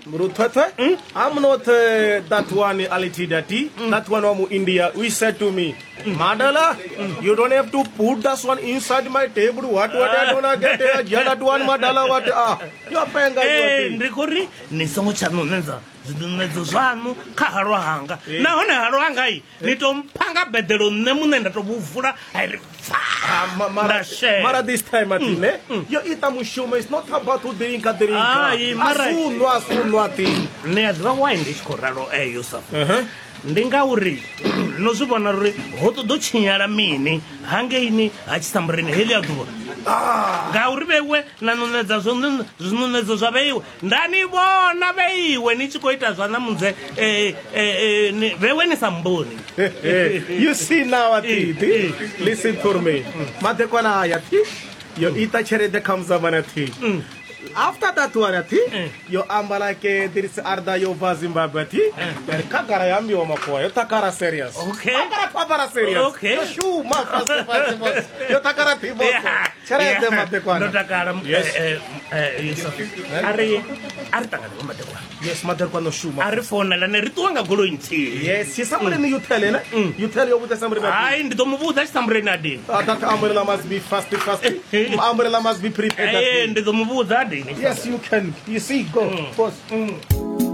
Mruthwethwe, I'm not that one Alitidati, that one wa mu India. We said to me, Madala, you don't have to put that one inside my table. What I don't get it. Yeah, that one Madala, what ah. You are penga ee you ndi khou ri ni songo tsha ṋuṋedza zwiṋuṋedzo zwaṋu kha halwa hanga nahone halwa hanga i ni tou mpha nga beḓelo nṋe muṋe nda tou vhuvula a ri pfa Ah, mara, nda shela mara this time atine yo ita mushumo it's not about to drink a drink Ai, mara- asunwa asunwa ti ni a ḓivha why ndi tshi khou ralo e yusuf ndi ngauri no zwi vhona uri ho ṱoḓo tshinyala mini hangeini ha tshisambureni heḽi a ḓuvha ngauri vheiwe na ṋuṋedza zwiṋuṋedzo zwa vheiwe nda ni vhona vheiwe ni tshi khou ita zwa ṋamudze vheiwe ni sa mboni you see now atiti listen to me madekwana aya thi yo ita tshelede kha muzamana thi after that one thi yo amba like there is arda yo bva zimbabwe thi yari kagara ya ambiwa makuwa yo takara serious Okay. takara pavara serious Okay. yo shuma fast fast fast yo takara thi boso tshelede madekwana ndo takala Yes. yusuf a ri a ri ṱangane vho madekwana yes madekwana shuma a ri founelane ri ṱuwa nga goloi nthihi yes tshisamureni you tell ene you tell yo vhudza samureni hayi ndi ḓo mu vhudza tshisambureni a dini That umbrella must be fast, fast. Umbrella must be prepared. ee ndi ḓo mu vhudza a dini Yes, you can. You see, go, boss.